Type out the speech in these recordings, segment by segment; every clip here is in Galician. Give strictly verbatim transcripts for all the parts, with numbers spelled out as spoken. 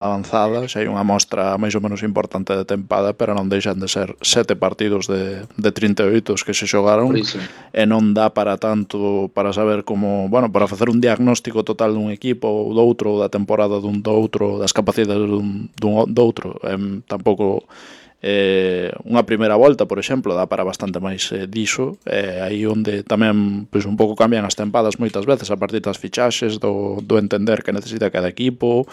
avanzada, xa hai unha mostra máis ou menos importante de tempada, pero non deixan de ser sete partidos de, de trinta e oito que se Por xogaron, iso. e non dá para tanto para saber como, bueno, para facer un diagnóstico total dun equipo ou do outro, da temporada dun do outro, das capacidades dun, dun do outro. Eh, tampouco eh, unha primeira volta, por exemplo, dá para bastante máis eh, diso, eh, aí onde tamén pois, un pouco cambian as tempadas moitas veces a partir das fichaxes, do, do entender que necesita cada equipo.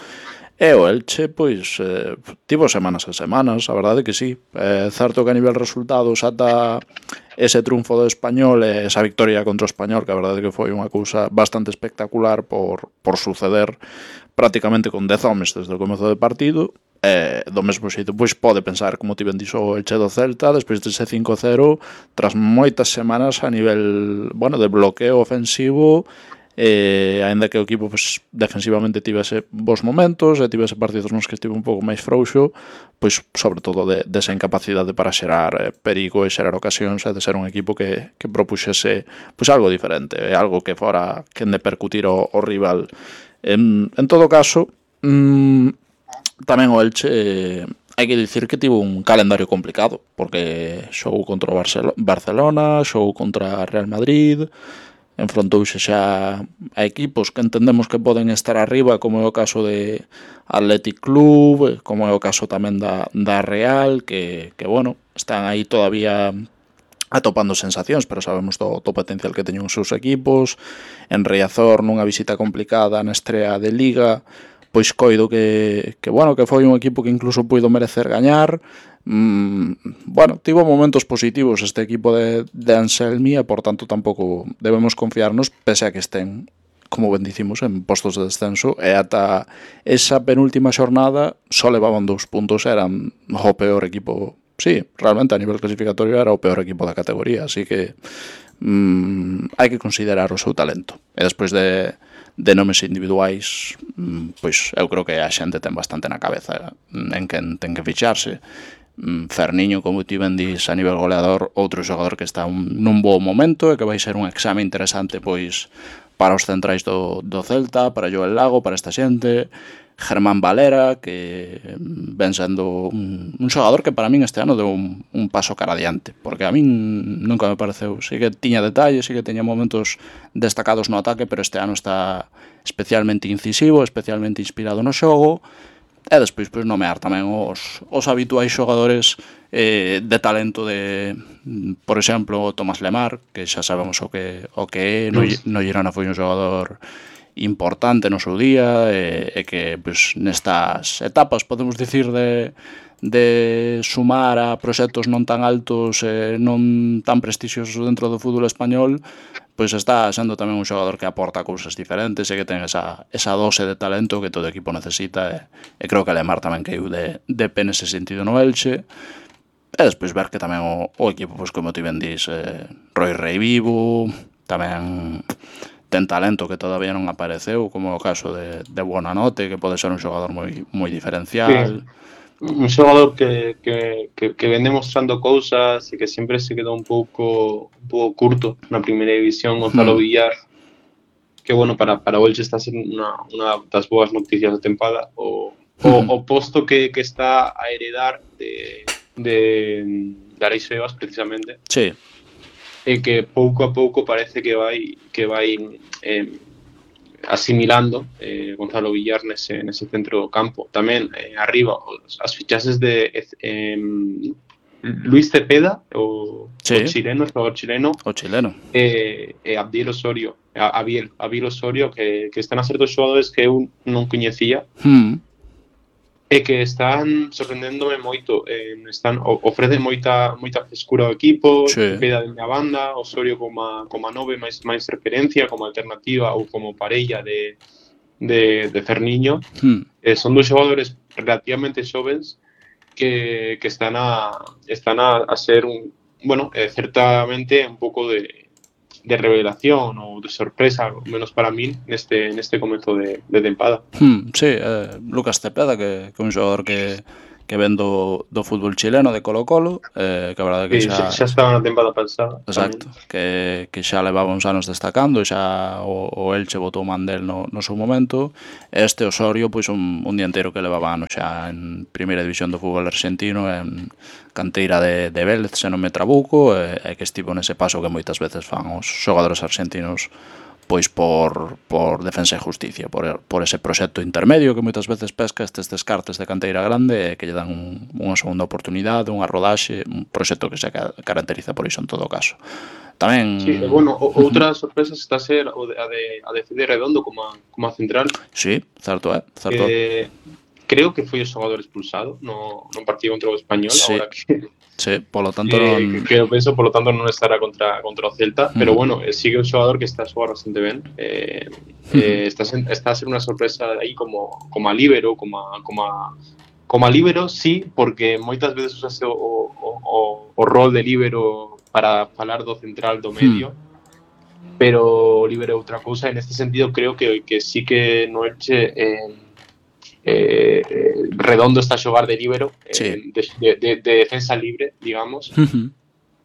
E o Elche, pois, eh, tivo semanas e semanas, a verdade que sí. É certo que a nivel resultados ata ese triunfo do Español e esa victoria contra o Español, que a verdade que foi unha cousa bastante espectacular por, por suceder prácticamente con dez homes desde o comezo do partido. E do mesmo xeito, pois pode pensar, como ti ben dixo, o Elche do Celta despois dese cinco cero, tras moitas semanas a nivel, bueno, de bloqueo ofensivo, eh, aínda que o equipo pues, defensivamente tivese bons momentos e tivese partidos nos que estive un pouco máis frouxo, pois sobre todo de, desa incapacidade para xerar eh, perigo e xerar ocasións, e de ser un equipo que, que propuxese pois algo diferente, algo que fora que de percutir o, o rival. En, en todo caso, mmm, tamén o Elche eh, hai que dicir que tivo un calendario complicado, porque xogou contra o Barcelona, xogou contra Real Madrid, enfrontouse xa a equipos que entendemos que poden estar arriba, como é o caso de Athletic Club, como é o caso tamén da, da Real, que, que bueno, están aí todavía atopando sensacións, pero sabemos do, do potencial que teñen os seus equipos. En Riazor, nunha visita complicada na estrea de Liga, pois coido que, que bueno, que foi un equipo que incluso puido merecer gañar. Mm, bueno, tivo momentos positivos este equipo de, de Anselmi, e por tanto tampouco debemos confiarnos, pese a que estén, como ben dicimos, en postos de descenso, e ata esa penúltima xornada só levaban dous puntos, eran o peor equipo. Sí, realmente a nivel clasificatorio era o peor equipo da categoría, así que mm, hai que considerar o seu talento. E despois de de nomes individuais, pois eu creo que a xente ten bastante na cabeza en quen ten que ficharse. Ferniño, como ti ben dis, a nivel goleador, outro xogador que está un, nun bo momento e que vai ser un exame interesante pois para os centrais do, do Celta, para Joel Lago, para esta xente. Germán Valera, que ven sendo un, un xogador que para min este ano deu un, un paso cara adiante, porque a min nunca me pareceu, sí que tiña detalles, sí que teña momentos destacados no ataque, pero este ano está especialmente incisivo, especialmente inspirado no xogo. E despois pois nomear tamén os, os habituais xogadores eh, de talento de, por exemplo, Tomás Lemar, que xa sabemos o que o que é, no, no Girona foi un xogador importante no seu día, e, e que pois, nestas etapas, podemos dicir, de, de sumar a proxectos non tan altos e non tan prestixiosos dentro do fútbol español, pois está sendo tamén un xogador que aporta cousas diferentes e que ten esa, esa dose de talento que todo equipo necesita, e, e creo que Lemar tamén caiu de, de pé nese sentido no Elche. E despois ver que tamén o, o equipo, pois como ti ben dis, eh, Roy Rey vivo, tamén ten talento que todavía non apareceu, como o caso de, de Buonanote, que pode ser un xogador moi, moi diferencial. Sí. Un xogador que, que, que, que ven demostrando cousas e que sempre se quedou un pouco un pouco curto na primeira división, Gonzalo hmm. Villar, que bueno, para, para o Elche está sendo unha, unha das boas noticias da tempada, o, o, o posto que, que está a heredar de, de, de Arais Sebas, precisamente. Sí. E que pouco a pouco parece que vai que vai eh, asimilando eh, Gonzalo Villar nese, nese centro do campo. Tamén eh, arriba os, as fichaxes de eh, Luis Cepeda, o, sí. o chileno, o xogador chileno, o chileno. E, e Abdiel Osorio, Abiel, Abiel Osorio, que, que están a ser dos xogadores que eu non coñecía. Hmm. E que están sorprendéndome moito, eh, están ofrecen moita moita frescura ao equipo, sí. Cepeda de unha banda, Osorio como a, como a nove máis máis referencia, como alternativa ou como parella de de, de Ferniño. Hmm. Eh, son dos xogadores relativamente xovens que, que están a están a, a ser un, bueno, eh, certamente un pouco de de revelación ou de sorpresa, ao menos para min, neste neste comezo de, de tempada. Hmm, sí, eh, Lucas Cepeda, que, que é un xogador que, que ven do, do fútbol chileno de Colo-Colo, eh, que a verdade que Sí, xa... xa estaba na tempada pasada. Exacto, que, que xa levaba uns anos destacando, xa o, o Elche botou man del no, no seu momento. Este Osorio, pois un, un dianteiro que levaba anos xa en primeira división do fútbol argentino, en canteira de, de Vélez, se non me trabuco, e, e que estivo nese paso que moitas veces fan os xogadores argentinos pois por, por defensa e justicia, por, por ese proxecto intermedio que moitas veces pesca estes descartes de canteira grande e que lle dan un, unha segunda oportunidade, unha rodaxe, un proxecto que se caracteriza por iso en todo caso. Tamén... Sí, e, bueno, outra sorpresa está a ser o de, a de, a de Fede Redondo como a, como a central. Sí, certo é, certo é. Eh, creo que foi o xogador expulsado no, no partido contra o Español, sí. agora que... Sí, polo tanto eh, non... que, que eu penso, polo tanto non estará contra contra o Celta, uh-huh. Pero bueno, eh, sigue un xogador que está a xogar bastante ben. Eh, uh-huh. eh, está, está a ser unha sorpresa aí como como a líbero, como a, como a como a líbero, sí, porque moitas veces usase o, o, o, o rol de líbero para falar do central do medio. Uh-huh. Pero o líbero é outra cousa, en este sentido creo que que sí que no Elche eh, Eh, Redondo está a xogar de líbero, sí. eh, de, de, de defensa libre, digamos, uh-huh.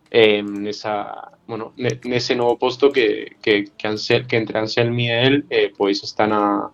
eh, nesa, bueno, nese novo posto que, que, que, Ansel, que entre Anselmi e el eh, pois están a,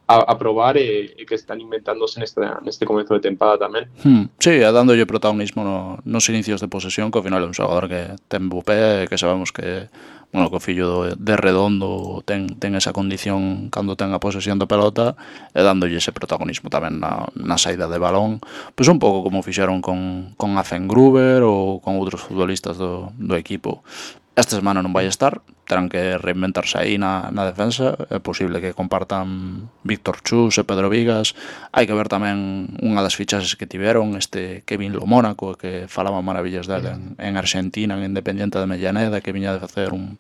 a, a probar e, e que están inventándose neste, neste comezo de tempada tamén. Hmm. Sí, e dándolle protagonismo no, nos inicios de posesión, que ao final é un xogador que ten bo pé, que sabemos que bueno, que o fillo de, de Redondo ten, ten esa condición cando ten a posesión da pelota, e dándolle ese protagonismo tamén na, na saída de balón, pois un pouco como fixeron con, con Azengruber ou con outros futbolistas do, do equipo. Esta semana non vai estar, terán que reinventarse aí na, na defensa, é posible que compartan Víctor Chus e Pedro Vigas. Hai que ver tamén unha das fichaxes que tiveron, este Kevin Lo Mónaco, que falaba maravillas dele en, en Argentina, en Independiente de Mellaneda, que viña de facer un,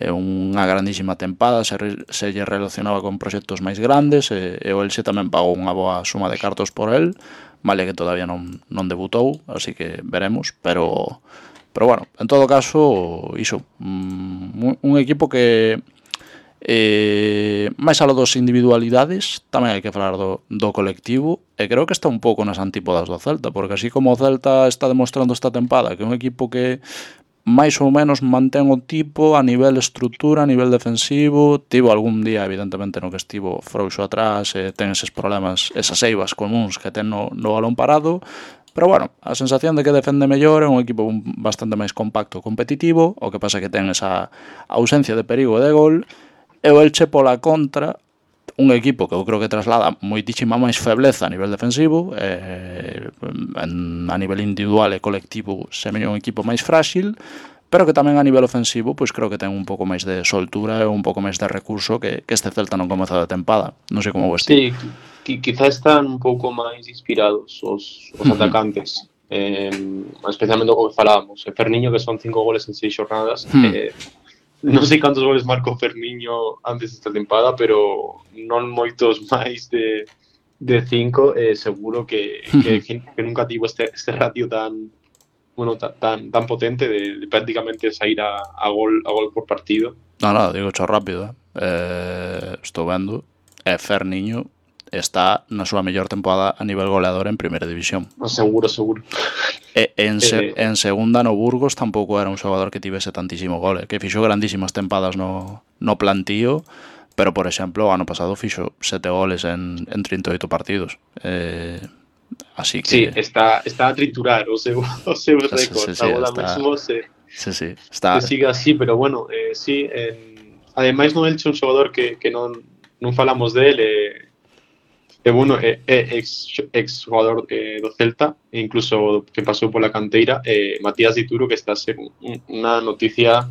eh, unha grandísima tempada, se, se lle relacionaba con proxectos máis grandes, e, e o Elche tamén pagou unha boa suma de cartos por el, vale que todavía non, non debutou, así que veremos, pero... Pero bueno, en todo caso, iso, un, un equipo que eh, máis aló dos individualidades, tamén hai que falar do, do colectivo, e creo que está un pouco nas antípodas do Celta, porque así como o Celta está demostrando esta tempada que é un equipo que máis ou menos mantén o tipo a nivel estrutura, a nivel defensivo, tivo algún día evidentemente no que estivo frouxo atrás, e ten eses problemas, esas eivas comuns que ten no, no balón parado. Pero bueno, a sensación de que defende mellor, é un equipo bastante máis compacto e competitivo, o que pasa que ten esa ausencia de perigo de gol, e o Elche pola contra, un equipo que eu creo que traslada moitísima máis febleza a nivel defensivo, eh, en, a nivel individual e colectivo semella un equipo máis frágil, pero que tamén a nivel ofensivo pois creo que ten un pouco máis de soltura e un pouco máis de recurso que, que este Celta non comeza de tempada. Non sei como vos ti. Sí, que quizá están un pouco máis inspirados os, os uh-huh. atacantes, eh, especialmente o que falábamos. E Ferniño, que son cinco goles en seis xornadas, uh-huh. eh, non sei cantos goles marcou Ferniño antes desta tempada, pero non moitos máis de, de cinco, eh, seguro que, uh-huh. que, que nunca tivo este, este ratio tan bueno tan, tan potente de, de prácticamente sair a, a, gol, a gol por partido. Non, non, digo cho rápido, eh. Eh, estou vendo, e Ferniño está na súa mellor temporada a nivel goleador en primeira división. No, seguro, seguro. E en, se, eh, en segunda no Burgos tampouco era un xogador que tivese tantísimo gole, que fixo grandísimas tempadas no, no plantío, pero por exemplo, o ano pasado fixo sete goles en, en trinta e oito partidos. Eh, así que... Sí, está, está a triturar o seu, o seu récord. Sí, sí, sí, agora está... mesmo se, sí, sí, está... se siga así, pero bueno, eh, sí, en... ademais no Elche un xogador que, que non, non falamos dele, eh, E bueno, é, é ex, ex xogador eh, do Celta, e incluso que pasou pola canteira, eh, Matías Dituro, que está a ser unha noticia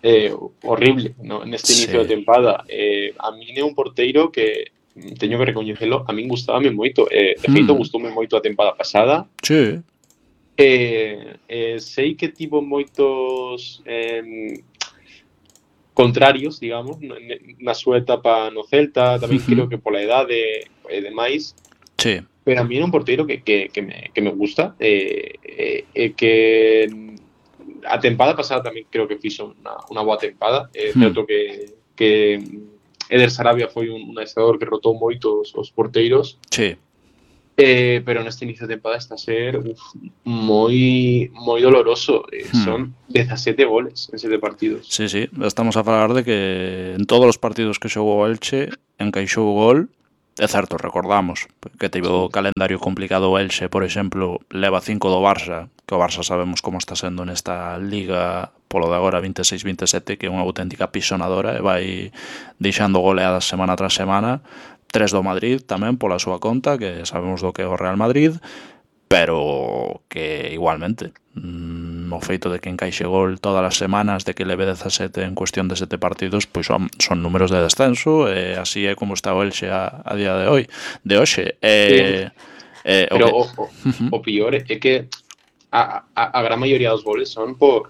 eh, horrible, ¿no? Neste sí. inicio de tempada. Eh, a min é un porteiro que, teño que recoñecelo, a min gustábame moito. Eh, de feito, mm. gustoume moito a tempada pasada. Sí. Eh, eh, sei que tivo moitos... Eh, contrarios, digamos, na súa etapa no Celta, tamén uh-huh. creo que pola edade e demais. Sí. Pero a mí é un porteiro que, que, que, me, que me gusta, e eh, eh, que a tempada pasada tamén creo que fixo unha, unha boa tempada. É eh, certo uh-huh. que, que Eder Sarabia foi un, un adestrador que rotou moito os, os porteiros. Sí. Eh, pero neste inicio de temporada está a ser uf, moi moi doloroso. Eh, hmm. Son dezasete goles en sete partidos. Sí, sí, estamos a falar de que en todos os partidos que xogou o Elche encaixou o gol. É certo, recordamos que teve o calendario complicado o Elche, por exemplo, leva cinco do Barça, que o Barça sabemos como está sendo nesta liga polo de agora vinte e seis vinte e sete, que é unha auténtica pisonadora e vai deixando goleadas semana tras semana. Tres do Madrid tamén pola súa conta, que sabemos do que é o Real Madrid, pero que igualmente mmm, o feito de que encaixe gol todas as semanas, de que leve dezasete en cuestión de sete partidos, pois son, son números de descenso, e así é como está o Elche a, a día de hoy, de hoxe. Eh, sí. eh, pero o, que... o, uh-huh. o pior é que a, a, a gran maioría dos goles son por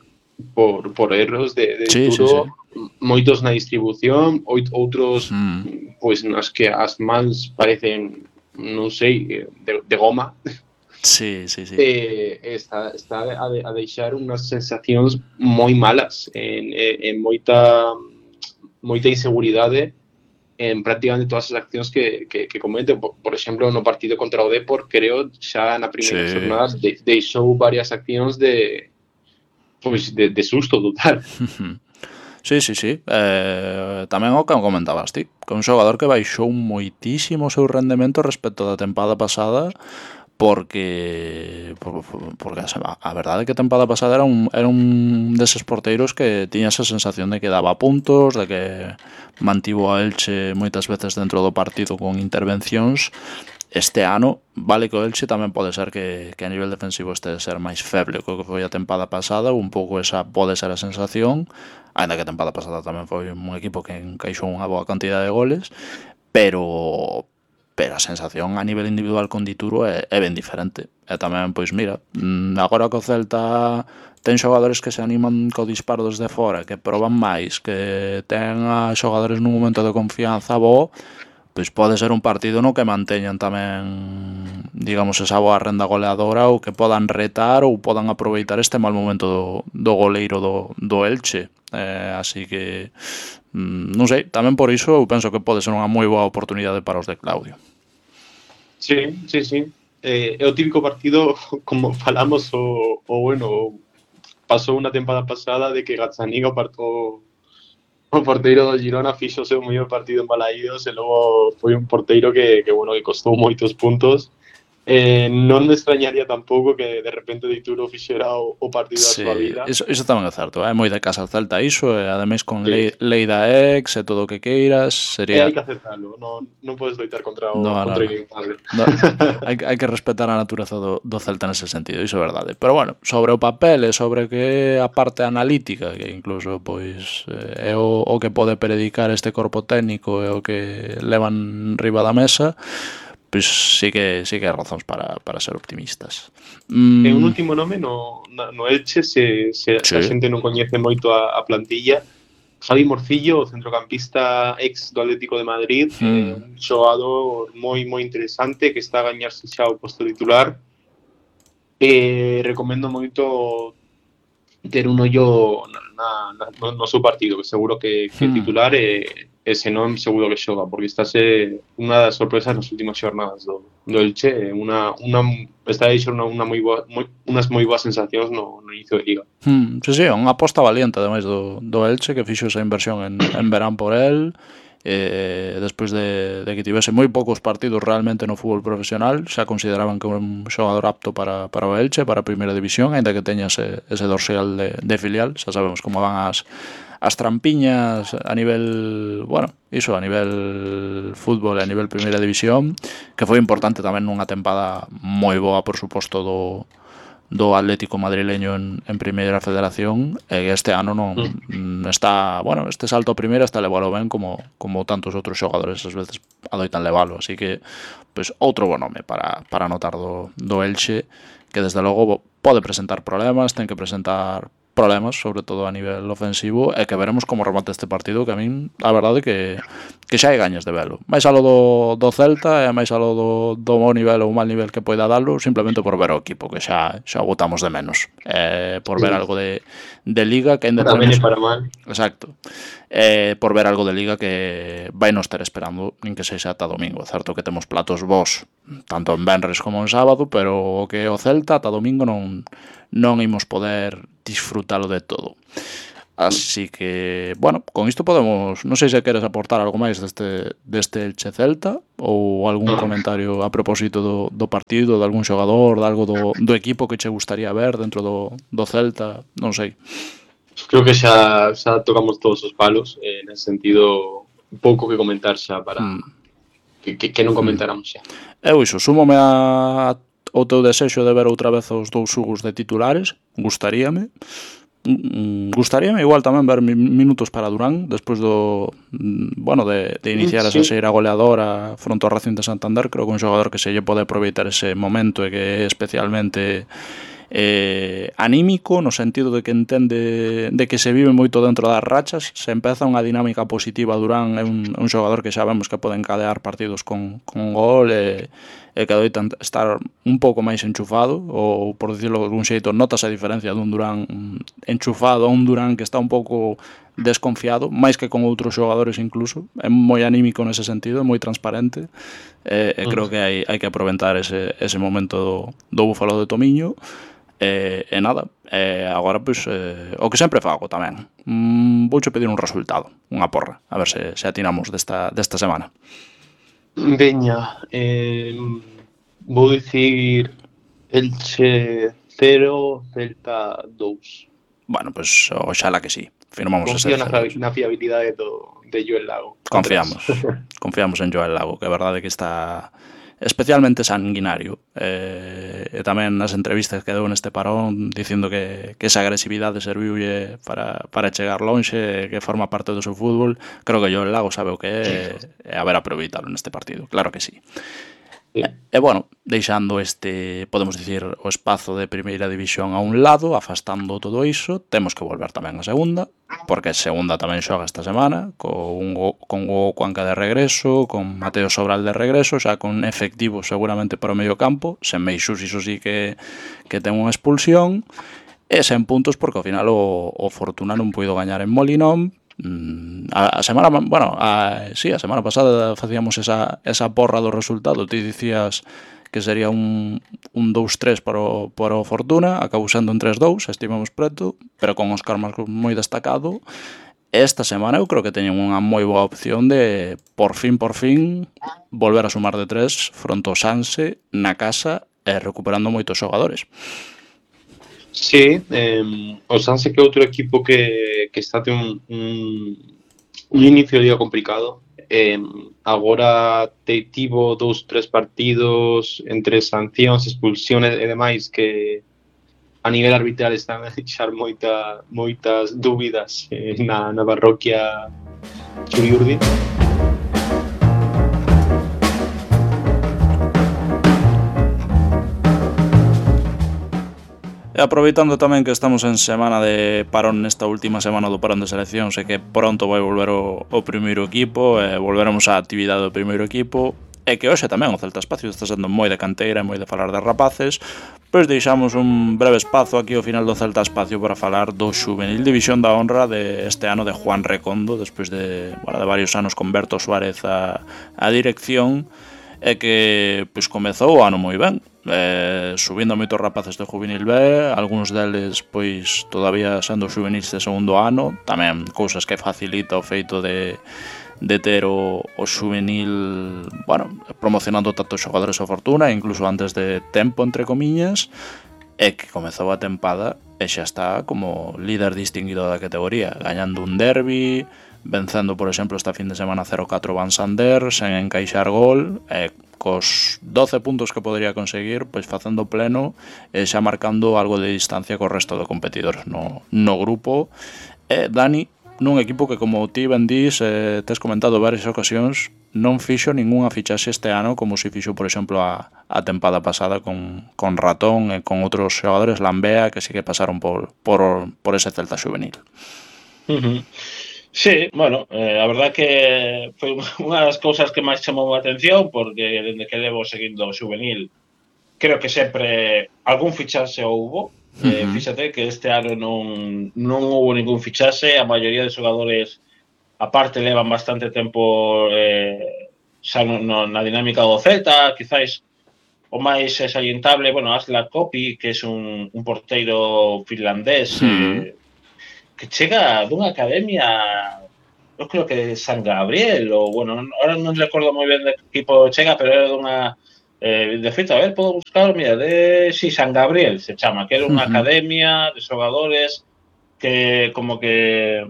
por, por erros de, de sí, Dituro, sí, sí. moitos na distribución, outros mm. pois nas que as mans parecen, non sei, de, de goma. Sí, sí, sí. Eh, está está a, de, a deixar unhas sensacións moi malas en, en, en moita moita inseguridade en prácticamente todas as accións que, que, que comete. Por, por exemplo, no partido contra o Depor, creo, xa na primeira sí. xornada de, deixou varias accións de pois de, de susto total. Sí, sí, sí. Eh, tamén o que comentabas ti, que un xogador que baixou moitísimo o seu rendemento respecto da tempada pasada, porque porque a verdade é que a tempada pasada era un, era un deses porteiros que tiña esa sensación de que daba puntos, de que mantivo a Elche moitas veces dentro do partido con intervencións. Este ano, vale que o Elche tamén pode ser que, que a nivel defensivo este de ser máis feble co que foi a tempada pasada, un pouco esa pode ser a sensación, ainda que a tempada pasada tamén foi un equipo que encaixou unha boa cantidad de goles, pero pero a sensación a nivel individual con Dituro é, é ben diferente. E tamén, pois mira, agora que o Celta ten xogadores que se animan co disparo desde fora, que proban máis, que ten a xogadores nun momento de confianza bo, pois pode ser un partido no que manteñan tamén, digamos, esa boa renda goleadora, ou que podan retar ou podan aproveitar este mal momento do, do goleiro do, do Elche. Eh, así que, non sei, tamén por iso eu penso que pode ser unha moi boa oportunidade para os de Claudio. Sí, sí, sí. Eh, é o típico partido, como falamos, o, o bueno, pasou unha tempada pasada de que Gazzaniga partou o porteiro do Girona fixo o seu mellor partido en Balaídos e logo foi un porteiro que, que bueno, que costou moitos puntos. Eh, non me extrañaría tampouco que de repente Dituro fixera o, o partido sí, da súa vida. Iso, iso tamén é certo, é moi de casa Celta iso, e ademais con sí. lei, lei da ex e todo o que queiras, sería... E hai que aceptarlo, non, non podes loitar contra o no, contra no, no. no, hai, hai que respetar a natureza do, do Celta nese sentido, iso é verdade. Pero bueno, sobre o papel e sobre que a parte analítica, que incluso pois é o, o que pode predicar este corpo técnico e o que levan riba da mesa, pois sí que sí que hai razóns para, para ser optimistas. Mm. E un último nome no, no Elche, se, se sí. a xente non coñece moito a, a plantilla, Javi Morcillo, o centrocampista ex do Atlético de Madrid, mm. eh, un xogador moi moi interesante que está a gañarse xa o posto titular. Eh, recomendo moito ter un ollo na, na, no, no seu partido, que seguro que, que mm. titular e, e se non seguro que xoga, porque está a ser unha das sorpresas nas últimas xornadas do, do Elche, unha, unha, está a deixar unha, unha moi boa, moi, unas moi boas sensacións no, no inicio de liga. Mm, sí, sí, unha aposta valiente ademais do, do Elche, que fixo esa inversión en, en verán por el, eh, despois de, de que tivese moi poucos partidos realmente no fútbol profesional, xa consideraban que un xogador apto para, para o Elche, para a primeira división, ainda que teña ese, ese dorsal de, de filial, xa sabemos como van as as trampiñas a nivel, bueno, iso, a nivel fútbol e a nivel primeira división, que foi importante tamén nunha tempada moi boa, por suposto, do, do Atlético madrileño en, en primeira federación, e este ano non mm. está, bueno, este salto a primeira está levalo ben como, como tantos outros xogadores ás veces adoitan levalo, así que, pois, outro bo nome para, para anotar do, do Elche, que desde logo pode presentar problemas, ten que presentar problemas, sobre todo a nivel ofensivo, e que veremos como remata este partido, que a min, a verdade, que, que xa hai gañas de velo. Máis alo do, do Celta e máis alo do, do bo nivel ou mal nivel que poida dalo, simplemente por ver o equipo, que xa, xa botamos de menos. Eh, por ver algo de, de Liga, que ainda para tenemos... para mal. Exacto. Eh, por ver algo de Liga que vai nos ter esperando, nin que sexa ata domingo. Certo que temos platos vos, tanto en venres como en sábado, pero o que o Celta ata domingo non, non imos poder disfrutalo de todo. Así que, bueno, con isto podemos, non sei se queres aportar algo máis deste, deste Elche Celta ou algún comentario a propósito do, do partido, de algún xogador, de algo do, do equipo que che gustaría ver dentro do, do Celta, non sei. Creo que xa, xa tocamos todos os palos, eh, nese sentido, pouco que comentar xa para hmm. que, que, que non comentáramos xa. Eu iso, súmome a o teu desexo de ver outra vez os dous xogos de titulares, gustaríame. Gustaríame igual tamén ver minutos para Durán despois do, bueno, de, de iniciar sí. esa xeira goleadora fronte ao Racing de Santander. Creo que un xogador que se lle pode aproveitar ese momento e que é especialmente eh, anímico, no sentido de que entende de que se vive moito dentro das rachas, se empeza unha dinámica positiva. Durán é un, un xogador que xa vemos que pode encadear partidos con, con gol e, e que doita estar un pouco máis enchufado, ou por dicirlo de algún xeito, notas a diferencia dun Durán enchufado a un Durán que está un pouco desconfiado, máis que con outros xogadores incluso. É moi anímico nese sentido, é moi transparente, e, e creo que hai, hai que aproveitar ese, ese momento do, do Búfalo de Tomiño. E, e nada, e agora pois, eh, o que sempre fago tamén, mm, vouche pedir un resultado, unha porra, a ver se, se atinamos desta, desta semana. Veña, eh, vou dicir Elche cero, Celta dous. Bueno, pois pues, oxala que sí. Firmamos Confío ese na, na fiabilidade do, de Joel Lago. Confiamos, confiamos en Joel Lago, que é verdade que está especialmente sanguinario, eh, e tamén nas entrevistas que deu neste parón dicindo que, que esa agresividade serviulle para, para chegar lonxe, que forma parte do seu fútbol. Creo que Joel Lago sabe o que é, e a ver aproveitalo neste partido, claro que sí. E, e bueno, deixando este, podemos dicir, o espazo de primeira división a un lado, afastando todo iso, temos que volver tamén a segunda, porque a segunda tamén xoga esta semana, con o, con o Cuenca de regreso, con Mateo Sobral de regreso, xa con efectivo seguramente para o medio campo, sen Meixús iso sí que, que ten unha expulsión, e sen puntos porque ao final o, o Fortuna non puido gañar en Molinón. A, a semana, bueno, a, sí, a semana pasada facíamos esa, esa porra do resultado. Ti dicías que sería un, un dous tres para o, para o Fortuna, acabou sendo un tres dous, estimamos preto, pero con Óscar Marcos moi destacado. Esta semana eu creo que teñen unha moi boa opción de, por fin, por fin, volver a sumar de tres fronte ao Sanse na casa e recuperando moitos xogadores. Sí, eh, o Sanse que é outro equipo que, que está ten un, un, un inicio de día complicado. Eh, agora te tivo dous, tres partidos entre sancións, expulsiones e demais que a nivel arbitral están a deixar moita, moitas dúbidas eh, na, na parroquia Churiurdi. E aproveitando tamén que estamos en semana de parón, nesta última semana do parón de seleccións, e que pronto vai volver o, o primeiro equipo, e volveremos á actividade do primeiro equipo, e que hoxe tamén o Celta Espacio está sendo moi de canteira e moi de falar de rapaces, pois deixamos un breve espazo aquí ao final do Celta Espacio para falar do Xuvenil División da Honra de este ano de Juan Recondo, despois de, bueno, de varios anos con Berto Suárez a, a dirección, e que pois comezou o ano moi ben, eh, subindo moitos rapaces de Juvenil B, algúns deles pois todavía sendo xuvenis de segundo ano, tamén cousas que facilita o feito de, de ter o, o xuvenil, bueno, promocionando tanto xogadores a Fortuna, incluso antes de tempo, entre comiñas, e que comezou a tempada e xa está como líder distinguido da categoría, gañando un derbi, vencendo, por exemplo, esta fin de semana cero catro Van Sander, sen encaixar gol, e cos doce puntos que podría conseguir, pois facendo pleno e xa marcando algo de distancia co resto de competidores no, no grupo. E Dani, nun equipo que, como ti ben dís, eh, tes comentado varias ocasións, non fixo ningunha fichaxe este ano como se fixo, por exemplo, a, a tempada pasada con, con Ratón e con outros xogadores, Lambea, que sí que pasaron por, por, por ese Celta juvenil. Uh-huh. Sí, bueno, eh, a verdad que foi unha das cousas que máis chamou a atención, porque dende que levo seguindo o juvenil, creo que sempre algún fichaxe houbo. Eh, uh-huh. Fíxate que este ano non, non houbo ningún fichaxe, a maioría de xogadores aparte levan bastante tempo eh, xa no, no, na dinámica do Celta, quizáis o máis salientable, bueno, Asla Kopi, que é un, un porteiro finlandés, uh-huh. eh, que chega dunha academia, eu creo que de San Gabriel, ou, bueno, ahora non recordo moi ben de que equipo chega, pero era dunha, eh, de feito, a ver, podo buscar, mira, de, si, sí, San Gabriel se chama, que era unha uh-huh. academia de xogadores que, como que...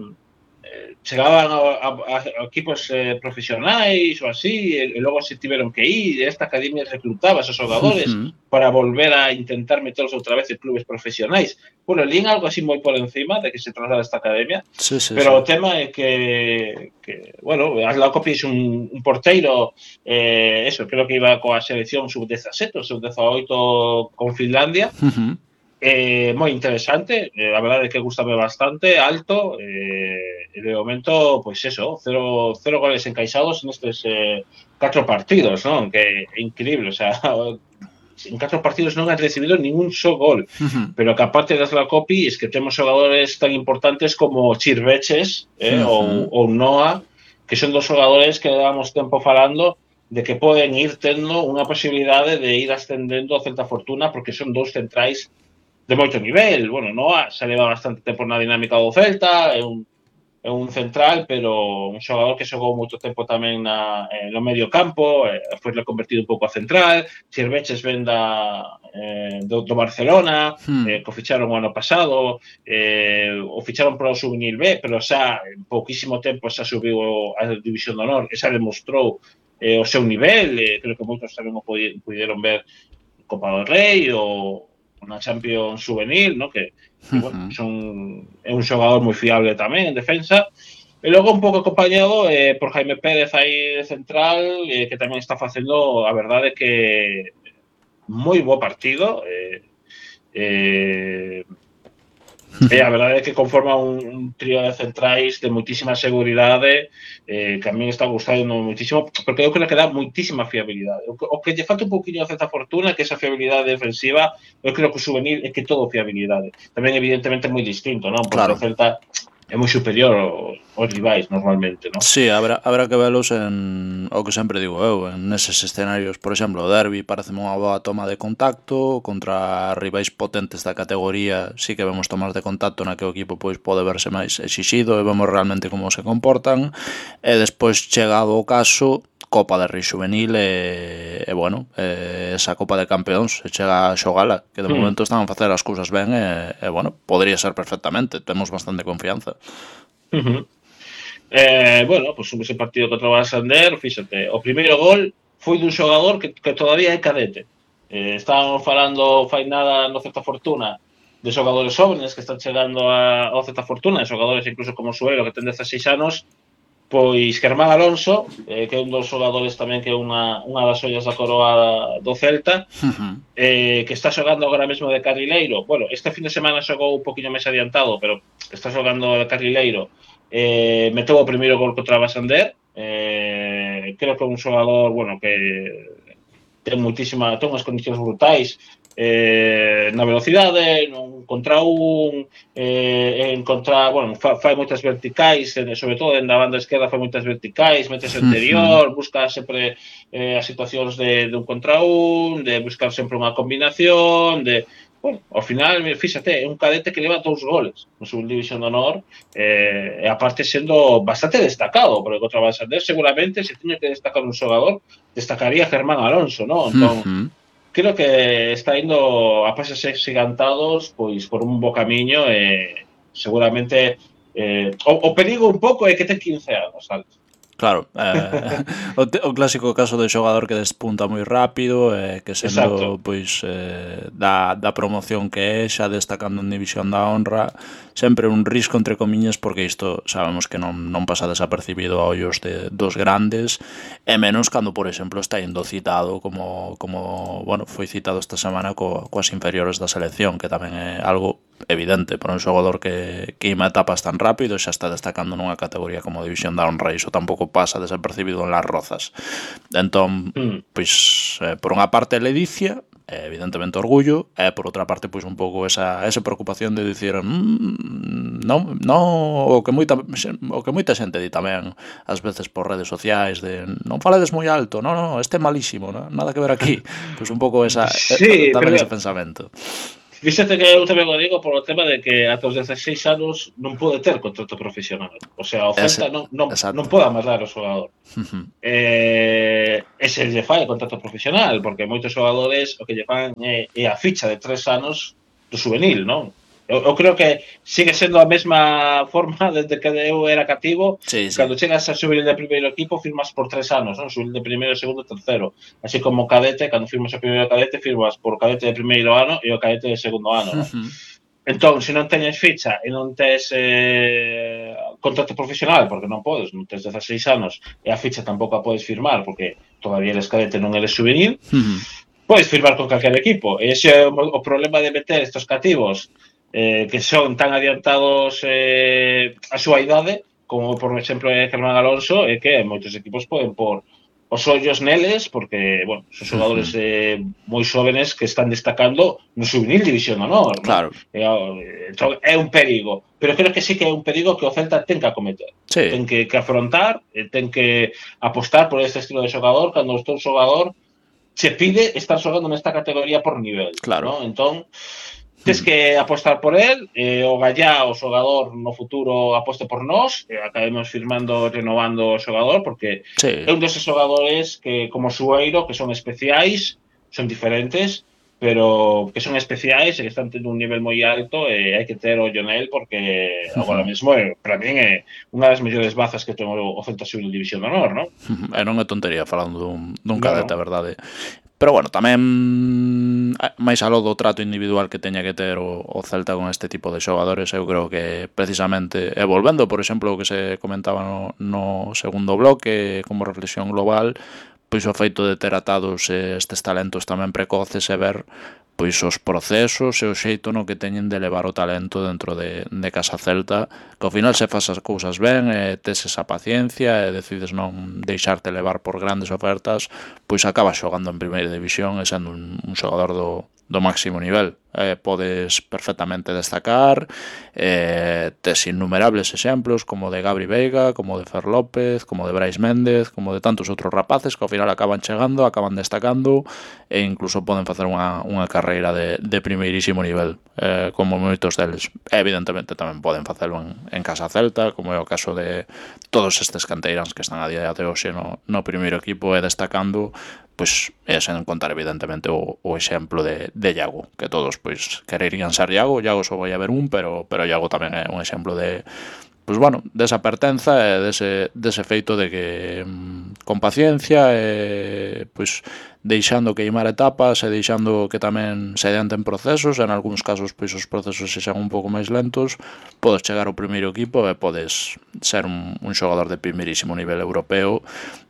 chegaban a, a, a equipos eh, profesionais ou así, e, e logo se tiveron que ir, e esta academia reclutaba a esos xogadores uh-huh. para volver a intentar meterlos outra vez en clubes profesionais. Bueno, lín algo así moi por encima de que se trasladara esta academia, sí, sí, pero sí. o tema é que, que bueno, Asla Kopi é un, un porteiro, eh, eso, creo que iba coa selección sub dezasete ou sub dezaoito con Finlandia, uh-huh. Eh, moi interesante, eh, a verdade é que gustame bastante, alto, eh, e de momento, pois pues eso, cero, cero goles encaixados nestes eh, catro partidos, non? Que é increíble, o sea, en catro partidos non han recibido ningún só gol, uh-huh. pero que aparte das la Kopi, es que temos xogadores tan importantes como Chirveches, eh, uh-huh. ou, ou Noah, que son dos xogadores que levamos tempo falando de que poden ir tendo unha posibilidade de ir ascendendo a Celta Fortuna, porque son dous centrais de moito nivel. Bueno, Noah se leva bastante tempo na dinámica do Celta, é un, é un central, pero un xogador que xogou moito tempo tamén na, eh, no medio campo, eh, foi reconvertido un pouco a central. Chirveches ven da, eh, do, do Barcelona, hmm. eh, que o ficharon o ano pasado, eh, o ficharon para o Juvenil B, pero xa en pouquísimo tempo xa subiu a División de Honor, e xa demostrou eh, o seu nivel, eh, creo que moitos tamén o puderon ver Copa do Rei ou na Champions Juvenil, ¿no? Que, que bueno, son, é un xogador moi fiable tamén en defensa. E logo un pouco acompañado eh, por Jaime Pérez aí de central, eh, que tamén está facendo, a verdade, que moi bo partido. Eh, eh, e a verdade é que conforma un, un trío de centrais de moitísima seguridade, eh, que a mí está gustando moitísimo, porque eu creo que dá moitísima fiabilidade. O que, o que lle falta un poquinho a Celta Fortuna, que esa fiabilidade defensiva, eu creo que o juvenil é que todo fiabilidade. Tamén, evidentemente, é moi distinto, non? Porque claro. O Celta é moi superior aos rivais, normalmente, non? Sí, habrá, habrá que velos en o que sempre digo eu, en eses escenarios. Por exemplo, o derbi parece unha boa toma de contacto contra rivais potentes da categoría, sí que vemos tomas de contacto na que o equipo pois pode verse máis exixido e vemos realmente como se comportan, e despois, chegado o caso, Copa de Rei Juvenil e, e bueno, e esa Copa de Campeóns se chega a xogala, que de mm. momento están a facer as cousas ben e, e bueno, podría ser perfectamente, temos bastante confianza. Uh-huh. Eh, bueno, pues ese partido contra o Santander, fíxate, o primeiro gol foi dun xogador que, que todavía é cadete. Eh, estábamos falando fai nada no Celta Fortuna de xogadores jóvenes que están chegando a, ao Celta Fortuna, de xogadores incluso como Suelo, que ten dezaseis anos. Pois Germán Alonso, eh, que é un dos xogadores tamén que é unha, unha das ollas da coroa do Celta, uh-huh. eh, que está xogando agora mesmo de carrileiro. Bueno, este fin de semana xogou un poquinho máis adiantado, pero está xogando de carrileiro. Eh, meteu o primeiro gol contra o Santander. Eh, creo que é un xogador, bueno, que ten moitísima, ten unhas condicións brutais. Eh, na velocidade, non contra un, eh, en contra, bueno, fa, fai moitas verticais, sobre todo en da banda esquerda fai moitas verticais, metes interior, uh-huh. busca sempre eh, as situacións de, de un contra un, de buscar sempre unha combinación, de, bueno, ao final, fíxate, é un cadete que leva dous goles no Subdivisión de Honor, eh, e aparte sendo bastante destacado, porque contra o Santander seguramente se tiña que destacar un xogador, destacaría Germán Alonso, non? Entón, uh-huh. creo que está indo a pases gigantados pois por un bo camiño e seguramente eh, o, o perigo un pouco é que ten quince anos, Alex. Claro, eh, o, te, o clásico caso de xogador que despunta moi rápido e eh, que sendo pois eh, da, da promoción que é, xa destacando en División da Honra, sempre un risco entre comiñas, porque isto sabemos que non, non pasa desapercibido a ollos de, dos grandes, e menos cando, por exemplo, está indo citado como, como bueno, foi citado esta semana co, coas inferiores da selección, que tamén é algo evidente para un xogador que, que ima etapas tan rápido e xa está destacando nunha categoría como División da Honra, e iso tampouco pasa desapercibido en Las Rozas. Entón, mm. pois, eh, por unha parte a ledicia, eh, evidentemente orgullo, e por outra parte, pois un pouco esa, esa preocupación de dicir mmm, non, non, o que moita o que moita xente di tamén ás veces por redes sociais de non falades moi alto, non, non, este é malísimo, non? Nada que ver aquí. Pois un pouco esa, sí, tamén pero... ese pensamento. Fíxate que eu tamén o digo por o tema de que ata os dezaseis anos non pode ter contrato profesional. O sea, o Celta non, non, non pode amarrar o xogador. Uh-huh. Eh, e se lle fai contrato profesional, porque moitos xogadores o que lle fan é, é a ficha de tres anos do juvenil, non? Eu, eu creo que sigue sendo a mesma forma desde que eu era cativo. Sí, sí. Cando chegas a juvenil de primeiro equipo firmas por tres anos, non? Juvenil de primeiro, segundo e terceiro. Así como cadete, cando firmas o primeiro cadete firmas por cadete de primeiro ano e o cadete de segundo ano, non? Uh-huh. Entón, se non teñes ficha e non tes eh, contrato profesional, porque non podes, non tes dezaseis anos e a ficha tampouco a podes firmar porque todavía eres cadete, non eres juvenil, uh-huh. podes firmar con calquer equipo. E ese é o, o problema de meter estos cativos Eh, que son tan adiantados eh, a súa idade, como por exemplo é Germán Alonso, é que moitos equipos poden por os ollos neles, porque, bueno, son xogadores eh, moi xóvenes que están destacando no juvenil División de Honor. Claro. É, é un perigo, pero creo que sí que é un perigo que o Celta ten que acometer. Sí. Ten que, que afrontar, ten que apostar por este estilo de xogador, cando o teu xogador se pide estar xogando nesta categoría por nivel. Claro. ¿no? Entón, tens que apostar por él, eh, o Gallá, o xogador no futuro aposte por nós, e acabemos firmando, renovando o xogador, porque sí. é un deses xogadores que, como Sueiro, que son especiais, son diferentes, pero que son especiais e que están tendo un nivel moi alto e hai que ter ollo nel, porque uh-huh. agora mesmo, é, para min, é unha das mellores bazas que ten o Celta Xuvenil División de Honor, non? Uh-huh. E non é tontería falando dun, dun cadete, a verdade. Pero bueno, tamén máis aló do trato individual que teña que ter o, o Celta con este tipo de xogadores, eu creo que precisamente, e volvendo, por exemplo, o que se comentaba no, no segundo bloque como reflexión global, pois o feito de ter atados estes talentos tamén precoces e ver pois os procesos e o xeito no que teñen de levar o talento dentro de, de Casa Celta, que ao final se faz as cousas ben e tes esa paciencia e decides non deixarte levar por grandes ofertas, pois acabas xogando en primeira división e sendo un, un xogador do, do máximo nivel. Eh, podes perfectamente destacar, eh, tes innumerables exemplos como de Gabri Veiga, como de Fer López, como de Brais Méndez, como de tantos outros rapaces que ao final acaban chegando, acaban destacando e incluso poden facer unha, unha carreira de, de primeirísimo nivel, eh, como moitos deles. Evidentemente tamén poden facelo en, en Casa Celta, como é o caso de todos estes canteiráns que están a día de hoxe no, no primeiro equipo e destacando, pois é sen contar evidentemente o, o exemplo de, de Iago, que todos pois quererían ser Iago. Iago só vai haber un, pero pero Iago tamén é un exemplo de, pois bueno, desa pertenza e dese, dese feito de que mmm, con paciencia e pois deixando queimar etapas e deixando que tamén se adianten procesos, en algúns casos pois os procesos se xan un pouco máis lentos, podes chegar ao primeiro equipo e podes ser un, un xogador de primeirísimo nivel europeo.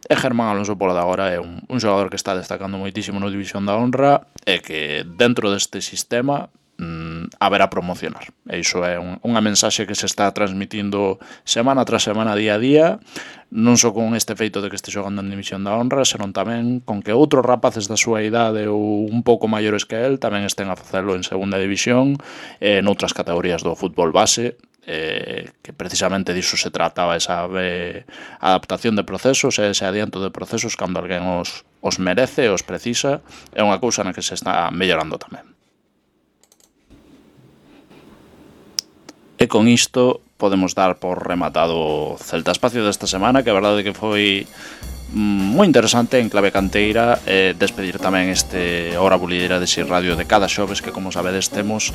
E Germán Alonso por agora é un, un xogador que está destacando moitísimo no División da Honra e que dentro deste sistema mm, haberá promocionar. E iso é un, unha mensaxe que se está transmitindo semana tras semana, día a día, non só con este feito de que este xogando en División da Honra, senón tamén con que outros rapaces da súa idade ou un pouco maiores que el tamén estén a facelo en segunda división e noutras categorías do fútbol base, eh, que precisamente diso se trataba, esa eh, adaptación de procesos e ese adianto de procesos cando alguén os, os merece, os precisa, é unha cousa na que se está mellorando tamén. E con isto podemos dar por rematado o Celta Espacio desta semana, que a verdade que foi moi interesante en clave canteira, e despedir tamén este Hora Bulideira de Xir Radio de cada xoves, que como sabedes temos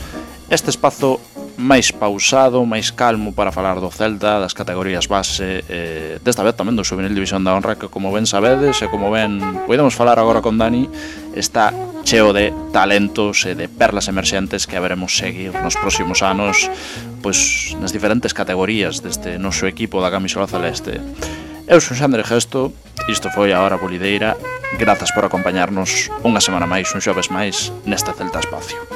este espazo máis pausado, máis calmo para falar do Celta, das categorías base, eh, desta vez tamén do Xuvenil División da Honra, que como ben sabedes e como ben podemos falar agora con Dani, está cheo de talentos e de perlas emerxentes que haberemos seguir nos próximos anos, pois nas diferentes categorías deste noso equipo da camisola celeste. Eu son Xandre Gesto, isto foi a Hora Bolideira. Grazas por acompañarnos unha semana máis, un xoves máis, neste Celta Espacio.